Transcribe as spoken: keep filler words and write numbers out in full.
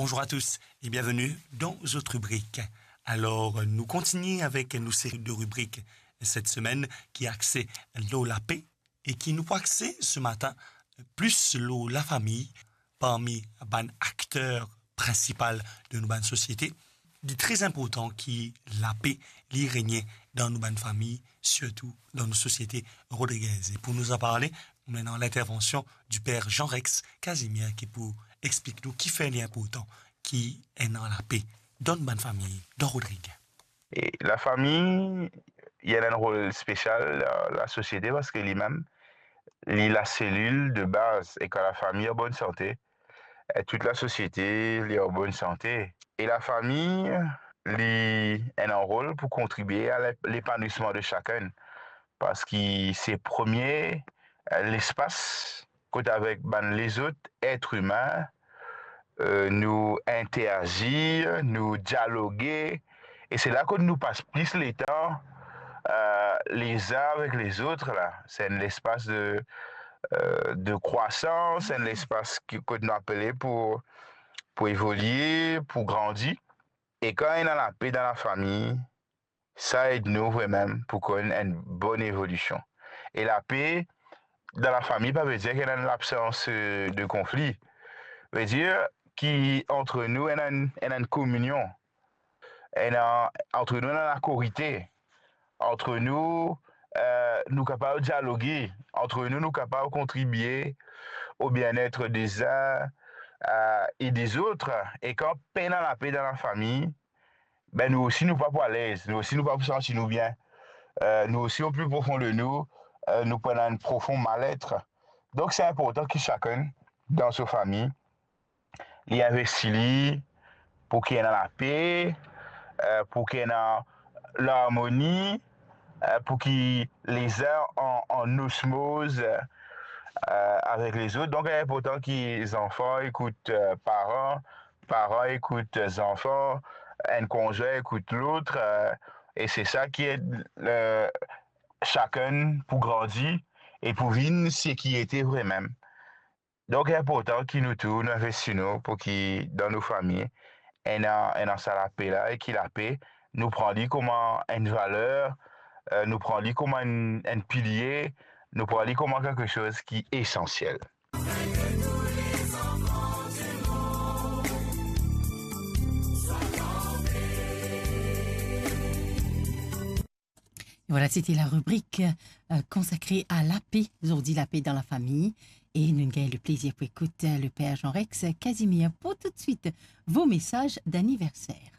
Bonjour à tous et bienvenue dans zot ribrik. Alor, nou kontigne avek nou seri de ribrik set semenn ki axe lor lape e ki nou pou axe se matin plis lor lafami parmi bann akter prinsipal de nou bann sosiete. Li tre inportan ki lape li regne dan nou bann fami, sirtou dan nou sosiete rodrigez. E pou nou anparle, nou ena lintervansion di per Jean Rex Casimir ki pou explik nou kifer li inportan ki ena lape dan nou bann fami, dan Rodrig. E lafami, li ena enn rol spesial dan lasosiete parski limem, li laselil de baz. E kan lafami an bonn sante, e tout lasosiete, li an bonn sante. E lafami, li ena enn rol pou kontribie a le-, lepanwisman de sakenn. Parski se premie, e, lespas kot avek bann lezot et imin, e, nou interazir, nou dialoge, e se la kot nou pas plis letan, e, lezin avek lezot la. Se enn lespas de, e, de krwasans, enn lespas ki, kot nou apele pou, pou evolie, pou grandi. E kan ena lape dan lafami, sa ed nou vremem pou konn enn bonn evolision. E lape dan lafami pa vedir ki ena enn labsans, e, de konfli. Vedir ki antre nou ena enn, ena enn kominion. Ena, antre nou ena lakorite. Antre nou, e, nou kapav dialoge. Antre nou, nou kapav kontribie o bienet dezin, e, e dezot. E kan pena lape dan lafami, be, nou osi nou pa pou alez, nou osi nou pa pou santi nou bien. E, nou osi, o pli profon de nou, e, nou pou ena enn profon malet. Donk, se inportan ki sakenn dan so fami, li investi li pou ki ena lape, e, pou ki ena larmoni, e, pou ki lezin an, an osmoz, e, avek lezot. Donk, li inportan ki zanfan ekout, e, paran, paran ekout zanfan, enn konzwin ekout lot, e, e se sa ki ed, e, sakenn pou grandi e pou vinn seki ete vremem. Donk, inportan ki nou tou, nou investi nou pou ki dan nou fami, ena, ena sa lape la, e ki lape, nou pran li kouma enn valer, e, nou pran li kouma enn, enn pilie, nou pran li kouma kiksoz ki esansiel. Vwala, sete la ribrik, e, konsakre a lape, zordi lape dan lafami. E nou gagn le plezir pou ekout, e, le per Jean Rex Casimir. Pou toutswit, vo mesaz daniverser.